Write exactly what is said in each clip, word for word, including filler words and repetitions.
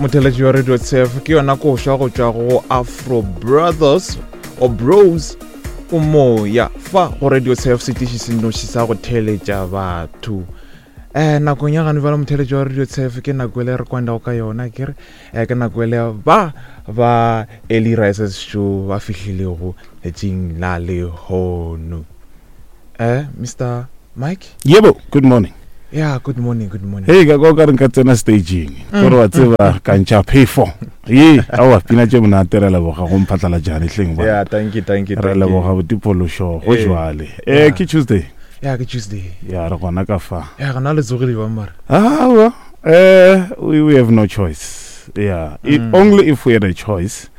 Motheletši wa Radio Tshef, ke yona koša go tšwa go Afro Brothers or Bros o moya fa go Radio Tshef, setiši se nnoši sa go theletša batho. Um nakong ya gane bjale, motheletši wa Radio Tshef, ke nako ele re kwandago ka yona, ke re um ke nako ele ba ba Early Risers Show ba fihlilego letšing la lehono. um Mister Mike. Yebo, good morning. Yeah, good morning, good morning. Hey, ka kwa ka re nka tsena stageng kore wa tseba ka ntšha phefo ye. Aowa, pina tše monate. Re leboga go mphatlala jane hleng ba. Yeah, thank you, thank you. Re Thank you. leboga botipološo go Eh, jwale. yeah. um ke Tuesday. Yeah, ke Tuesday. Ya, re gona ka fa. Ya, gona le tsogile ba mara. Aowa, um we, we have no choice, yeah. It, Mm. Only if we had a choice,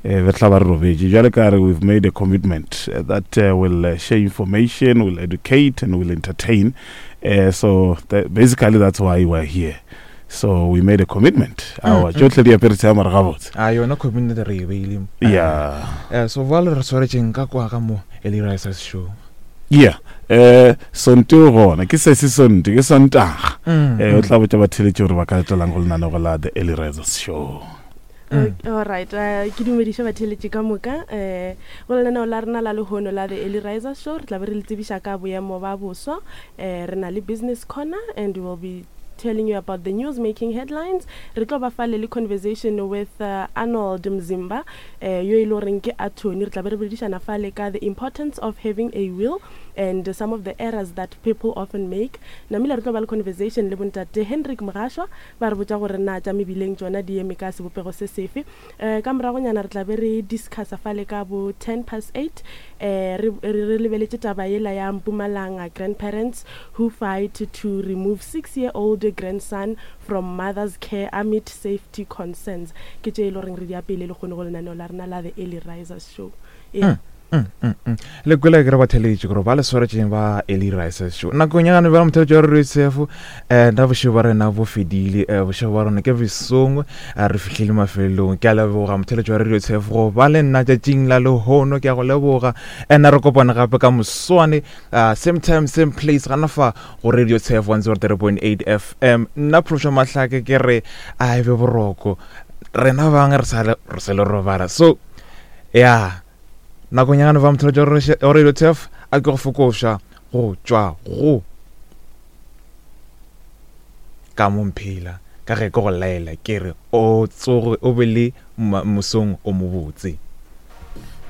eh re tla ba re robetše. Jwale ka re we've made a commitment uh, that uh, will uh, share information, will educate and will entertain, uh, so that, basically that's why we're here. So we made a commitment. Aowa, mm. tšohle di apere tsea mare gabotse. A yona commitment re e beile. Yeah. Eh, so vale re swaretšeng ka kwa ka mo Early Risers Show? Yeah, eh sonte o gona, ke sese sonte, ke Sontaga. Mm, eh o tla botša batheletši gore ba ka latelang go lenanego la The Early Risers Show. Mm. Alright, uh, ke dumediše batheletši ka moka um go lenaneo la rena la lehono la The Early Riser Show. Re tla be re le tsebiša ka boemo ba boswa, um re na le business corner and we will be telling you about the news making headlines. Re tlo ba fale le conversation with uh, Arnold Mzimba, uh, yo e le goreng ke attorney. Re tla be re boledišana fale ka the importance of having a will and uh, some of the errors that people often make. Namile re tlo ba le conversation le bontate Hendrik Mogashwa, ba re botša gore na tša mebileng tšona di eme ka sebopego se sefe. um ka moragonyana re tla be re discussa fale ka bo ten past eight, um re re re lebeletše taba yela ya Mpumalanga grandparents who fight to remove six year old grandson from mother's care amid safety concerns. Ke tše e le goreng re di apele le kgone go lenaneo la rena la The Early Risers Show, yeah. Mm, mm, mm. Le kwele ke re batheletši gore ba le swaretšeng ba Early Risers Show nakong ya gane bjale. Motheletši wa Radio Tshefo, um nna bošego ba rena bo fedile, um bošego ba rona ke besong, eh, re fihlile mafelelong. Ke a leboga, motheletši wa Radio Tshefo, go ba le nna tšatšing la lehono. Ke a go leboga nna. Re kopane gape ka moswane, uh, same time, same place, gana fa go Radio Tshefo one oh three point eight F M. Nna Phološo Mahlake ke re a e be boroko, rena bangwe re sa le re sa le robala. So ya nakong ya gane ba motheletši wa Radio Tshef, a ke go fokoša go tšwa go ka mo mphela ka ge ke go laela ke re o tsoge o be le mosong o mobotse.